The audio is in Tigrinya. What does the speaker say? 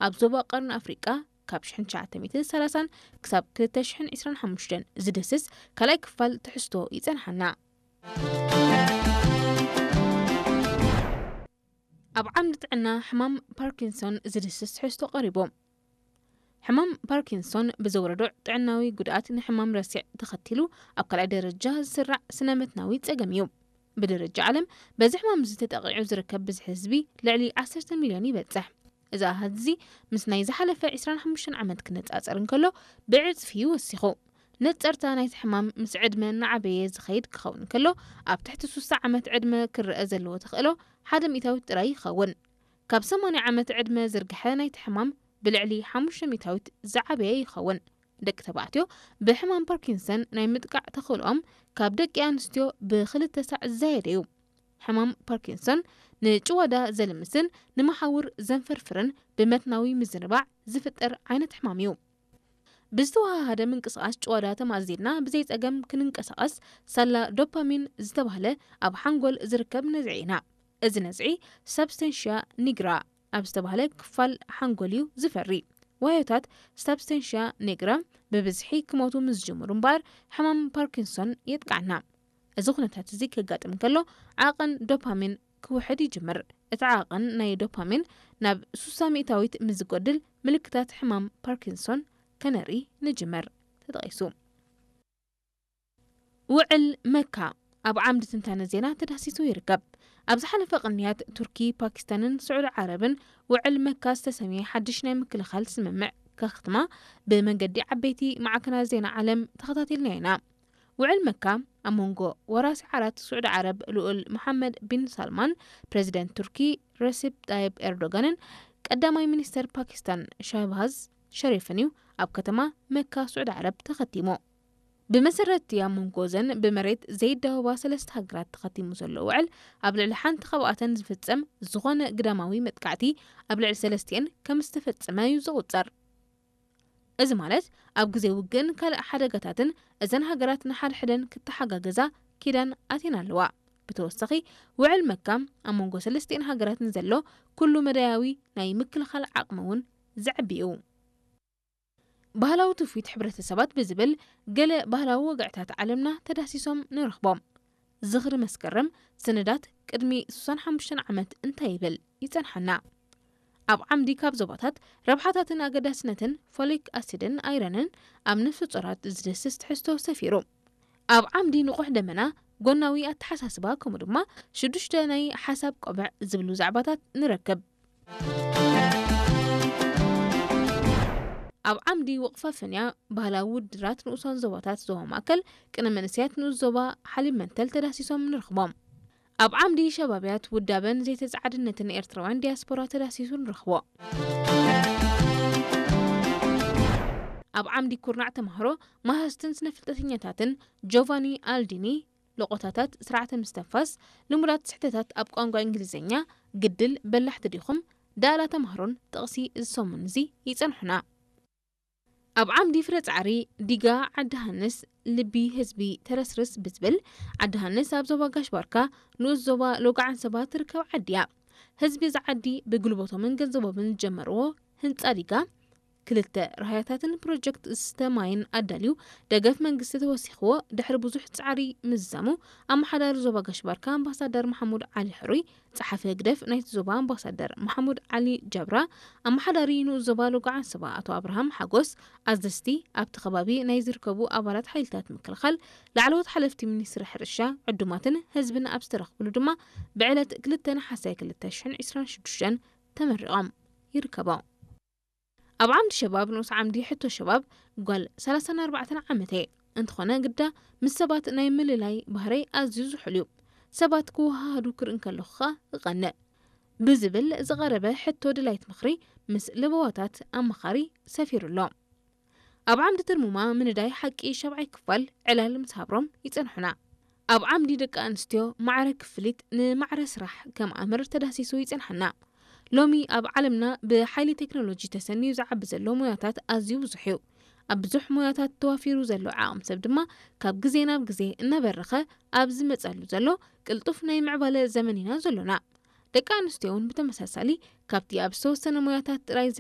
ኣብ ዞባ ቀርኒ ኣፍሪቃ ካብ ሽሕን ትሽዓተ ሚእትን ሰላሳን ክሳብ ክልተ ሽሕን ዕስራን ሓሙሽተን ዝድህስስ ካልኣይ ክፋል ትሕዝቶ ይጸንሓና። ኣብ ዓንዲ ጥዕና ሕማም ፓርኪንሶን ዝድህስስ ትሕዝቶ ቀሪቡ። ሕማም ፓርኪንሶን ብዘውረዶ ጥዕናዊ ጉድኣት ንሕማም ረሲዕ ተኸቲሉ ኣብ ካልኣይ ደረጃ ዝስራዕ ስነ መትናዊ ጸገም እዩ። ብደረጃ ዓለም በዚ ሕማም እዚ ተጠቒዑ ዝርከብ ብዝሒ ህዝቢ ልዕሊ ዓሰርተ ሚልዮን ይበጽሕ። እዚ ኣሃዝ እዚ ምስ ናይ ዝሓለፈ ዕስራን ሓሙሽተን ዓመት ክነጻጸር እንከሎ ብዕጽፊ እዩ ወሲኹ። ነጸርታ ናይቲ ሕማም ምስ ዕድመ እናዓበየ ዝኸይድ ክኸውን እንከሎ ኣብ ትሕቲ ሱሳ ዓመት ዕድመ ክረአ ዘለዎ ተኽእሎ ሓደ ሚእታዊት ጥራይ ይኸውን። ካብ ሰማንያ ዓመት ዕድመ ዝርግሐ ናይቲ ሕማም ብልዕሊ ሓሙሽተ ሚእታዊት ዝዓበየ ይኸውን። ደቂ ተባዕትዮ ብሕማም ፓርኪንሰን ናይ ምጥቃዕ ተኽእሎኦም ካብ ደቂ ኣንስትዮ ብኽልተ ሳዕ ዝዛየደ እዩ። ሕማም ፓርኪንሰን ንጭዋዳ ዘልምስን ንመሓውር ዘንፈርፍርን ብመትናዊ ምዝንባዕ ዝፍጠር ዓይነት ሕማም እዩ። ብዝተወሃሃደ ምንቅስቓስ ጭዋዳ ተማእዚድና ብዘይ ጸገም ክንንቀሳቐስ ሳላ ዶፓሚን ዝተባህለ ኣብ ሓንጎል ዝርከብ ነዝዒ ኢና። እዚ ነዝዒ ሳብስተንሽያ ኒግራ ኣብ ዝተባህለ ክፋል ሓንጎል እዩ ዝፈሪ። ዋዮታት ሳብስተንሽያ ኒግራ ብብዝሒ ክሞቱ ምስ ዝጅምሩ እምበኣር ሕማም ፓርኪንሶን የጥቅዓና። እዚ ኩነታት እዚ ከጋጥም ከሎ ዓቐን ዶፓሚን ክውሕድ ይጅምር። እቲ ዓቐን ናይ ዶፓሚን ናብ ሱሳ ሚእታዊት ምስ ዝጎድል ምልክታት ሕማም ፓርኪንሶን ከነርኢ ንጅምር። ተጠቒሱ። ውዕል መካ ኣብ ዓምዲ ትንታነ ዜና ተዳሲሱ ይርከብ። ኣብ ዝሓለፈ ቅንያት ቱርኪ፣ ፓኪስታንን ስዑዲ ዓረብን ውዕል መካ ዝተሰምየ ሓድሽ ናይ ምክልኻል ስምምዕ ከኽትማ ብመንገዲ ዓበይቲ ማዕከናት ዜና ዓለም ተኸታቲልና ኢና። ውዕል መካ ኣብ መንጎ ወራሲ ዓራት ስዑዲ ዓረብ ልኡል መሓመድ ቢን ሳልማን፣ ፕሬዚደንት ቱርኪ ረሲፕ ጣይብ ኤርዶጋንን ቀዳማይ ሚኒስተር ፓኪስታን ሻህባዝ ሸሪፍን እዩ ኣብ ከተማ መካ ስዑዲ ዓረብ ተኸቲሙ። ብመሰረት እቲ ኣብ መንጎ እዘን ብመሬት ዘይዳወባ ሰለስተ ሃገራት ተኸቲሙ ዘሎ ውዕል፣ ኣብ ልዕሊ ሓንቲ ካብኣተን ዝፍጸም ዝኾነ ግዳማዊ መጥቃዕቲ ኣብ ልዕሊ ሰለስቲኤን ከም ዝተፈጸመ እዩ ዝቑጸር። እዚ ማለት ኣብ ግዜ ውግእን ካልእ ሓደጋታትን እዘን ሃገራት ንሓድሕደን ክተሓጋገዛ ኪዳን ኣትየን ኣለዋ። ብተወሳኺ ውዕል መካ ኣብ መንጎ ሰለስቲኤን ሃገራት ንዘሎ ኩሉ መዳያዊ ናይ ምክልኻል ዓቕሚ እውን ዘዕቢ እዩ። ባህላዊ ትውፊት ሕብረተሰባት ብዝብል ገለ ባህላዊ ወግዕታት ዓለምና ተዳሲሶም ንረኽቦም። ዝኽሪ መስከረም ስነዳት ቅድሚ ሱሳን ሓሙሽተን ዓመት እንታይ ይብል ይጸንሓና። ኣብ ዓምዲ ካብ ዞባታት ረብሓታትን ኣገዳስነትን ፎሊክ ኣሲድን ኣይረንን ኣብ ነፍሲ ጾራት ዝድስስ ትሕዝቶ ሰፊሩ። ኣብ ዓምዲ ንቑሕ ደመና ጎናዊ ኣተሓሳስባ ከምኡ ድማ ሽዱሽተ ናይ ሓሳብ ቆብዕ ዝብሉ ዛዕባታት ንረክብ። ኣብ ዓምዲ ወቕፋ ፍንያ ባህላዊ ውድድራት ንኡሳን ዞባታት ዞባ ማእከል ቅነ መንእሰያት ንኡስ ዞባ ሓሊብ መንተል ተዳሲሶም ንረኽቦም። ኣብ ዓምዲ ሸባብያት ውዳበን ዘይተጻዓድነትን ኤርትራውያን ዲያስፖራ ተዳሲሱ ንረኽቦ። ኣብ ዓምዲ ኩርናዕ ተማህሮ መሃዝትን ስነ ፍልጠተኛታትን ጆቫኒ ኣልዲኒ፣ ሎቆታታት ስርዓተ ምስተንፋስ፣ ልሙዳት ስሕተታት ኣብ ቋንቋ እንግሊዝኛ፣ ግድል በላሕቲ ዲኹም፣ ዳእላ ተማህሮን ጥቕሲ እዚ ሰሙን እዚ ይጸንሑና። ኣብ ዓምዲ ፍረ ጻዕሪ ዲጋ ዓዲ ሃንስ ልቢ ህዝቢ ተረስርስ ብዝብል፣ ዓዲ ሃንስ ኣብ ዞባ ጋሽ ባርካ ንኡስ ዞባ ሎጋ ዓንሰባ ትርከብ ዓዲ እያ። ህዝቢ እዚ ዓዲ ብጉልበቶምን ገንዘቦምን ዝጀመርዎ ህንጻ ዲጋ ክልተ ራህያታትን ፕሮጀክት ዝስተ ማይን ኣዳልዩ ደገፍ መንግስቲ ተወሲኽዎ ድሕሪ ብዙሕ ጻዕሪ ምዝዛሙ ኣመሓዳሪ ዞባ ጋሽ ባርካ ኣምባሳደር መሓሙድ ዓሊ ሕሩይ፣ ጸሓፊ ህግደፍ ናይቲ ዞባ ኣምባሳደር መሓሙድ ዓሊ ጀብራ፣ ኣመሓዳሪ ንኡስ ዞባ ሎጋ ዓንሰባ ኣቶ ኣብርሃም ሓጎስ፣ ኣዘዝቲ ኣብቲ ከባቢ ናይ ዝርከቡ ኣባላት ሓይልታት ምክልኻል፣ ላዕለዎት ሓለፍቲ ሚኒስትሪ ሕርሻ፣ ዕዱማትን ህዝብን ኣብ ዝተረኽብሉ ድማ ብዕለት ክልተ ነሓሰ ክልተ ሽሕን ዕስራን ሽዱሽተን ተመሪቖም ይርከቡ። ኣብ ዓምዲ ሸባብ ንኡስ ዓምዲ ሕቶ ሸባብ ጓል ሰላሳን ኣርባዕተን ዓመት እየ። እንተኾነ ግዳ ምስ ሰባት ናይ ምልላይ ባህረይ ኣዝዩ ዝሑል እዩ። ሰባት ክወሃሃዱ ክርኢ እንከለኹ ኸኣ እቐንእ። ብዝብል ዝቐረበ ሕቶ ድላይት ምኽሪ ምስ ለበዋታት ኣማኻሪ ሰፊሩ ኣሎ። ኣብ ዓምዲ ትርሙማ ምንዳይ ሓቂ ሻብዓይ ክፋል ዕላል ምስ ሃብሮም ይጸንሑና። ኣብ ዓምዲ ደቂ ኣንስትዮ ማዕረ ክፍሊት ንማዕረ ስራሕ ከም ኣምር ተዳሲሱ ይጸንሓና። ሎሚ ኣብ ዓለምና ብሓይሊ ቴክኖሎጂ ተሰንዩ ዝዓቢ ዘሎ ሞያታት ኣዝዩ ብዙሕ እዩ። ኣብ ብዙሕ ሞያታት ተዋፊሩ ዘሎ ዓቕሚ ሰብ ድማ ካብ ግዜ ናብ ግዜ እናበረኸ ኣብ ዝመጸሉ ዘሎ ቅልጡፍ ናይ ምዕባለ ዘመን ኢና ዘሎና። ደቂ ኣንስትዮ እውን ብተመሳሳሊ ካብቲ ኣብ ዝተወሰነ ሞያታት ጥራይ